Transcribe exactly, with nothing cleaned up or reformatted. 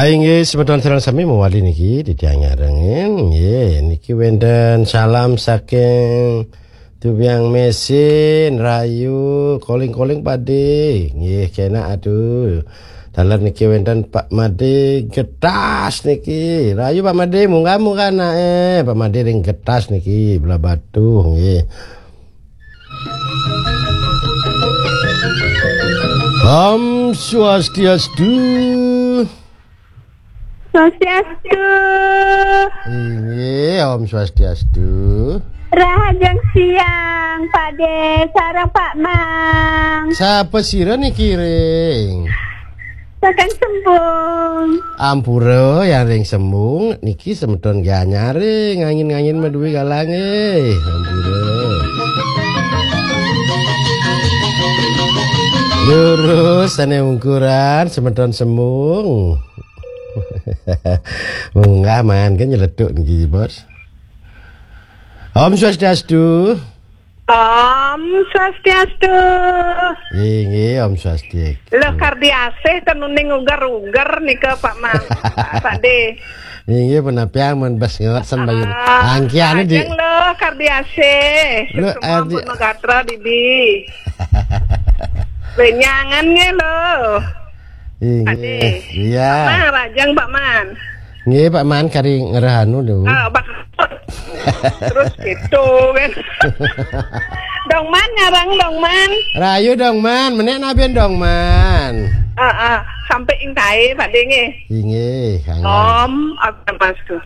Inggih, semeton sareng sami mawali niki titiang nyarengin. Nggih, niki wénten salam saking Tubiang Mesin, rahayu, calling-calling Pak Dé. Nggih, kénak atuh. Taler niki wénten Pak Madé Getas niki. Rahayu Pak Madé, munggah-munggah naé. Pak Madé ring Getas niki, Blahbatuh nggih. Om Swastiastu. Swastiastu. Inggih, Om Swastiastu. Rahajeng siang, Pak Dé, sareng Pak Mang. Sapa sira niki ring? Saking Sembung. Ampura, yang ring Sembung niki semeton Gianyar ring, ngangin-ngangin madué galangé. Ampura. Lurus sané ungkuran semeton Sembung. Munggah man kan nyeletuk niki, Bos. Om Swastiastu. Om Swastiastu. Inggih, Om Swastiastu. Lho, kardi asih tenuning uger-uger nika, Pak Mang. Pak Dé. Inggih, punapiang men bes ngelaksan bayu. Ah, angkiane di ajeng lho, kardi asih. Lho, semua ardi- pun megatra, Bibi. Lenyangan nggih lho. Inggih. Pak Dé. Iya. Mang, rajang Pak Man. Nggih, Pak Man kari ngereh anu lho. Ah, Pak. Terus gitu kan. Dong Man, ngarang Dong Man. Rahayu Dong Man, menek naben Dong Man. Ah, ah, sampai ing kae, Pak Dé nggih. Inggih, kangen. Om, apa Mas tuh?